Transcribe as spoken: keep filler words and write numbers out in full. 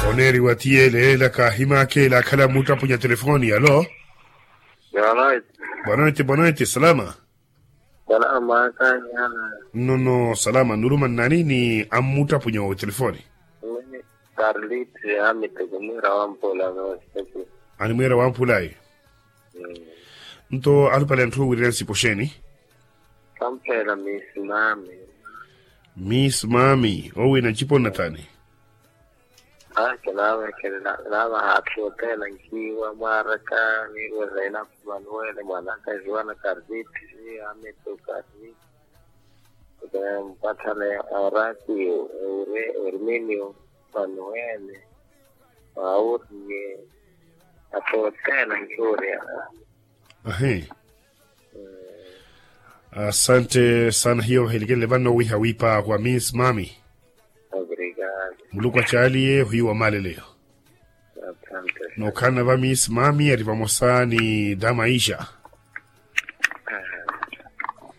Oneeriwa ti yeele ela kaahimaka ela akhala mmuttapunya telefoni alo. Bonoiti. Bonoiti bonoiti salama. Salama kanyana. Nnono salama nuruma nnani ni ammuttapunya otelefoni? Karliti amituku mwira wampula. Ani mwira wampulayi. Nto alupale anthu owirira nsipo xeeni? Kampela miss mami. Miss mami owina ncipo nnathani? Aa kinaavekhelela nava haatthi othena nkiwa mwaraka niirwerela ina manuwele mwanaka juana karliti. Amituku karliti. Mpathana ya orakiyo ewire erminio manuwele. Mauriye. Atthu othena nkiwurya. Ahi. Asante sana hiyo vahilikelele vanno wiha wiipa wa miss mami. Muluku acaaliye ohiiwa maaleleyo. Nookhalana va miss mami ari vamosa ni damaisha.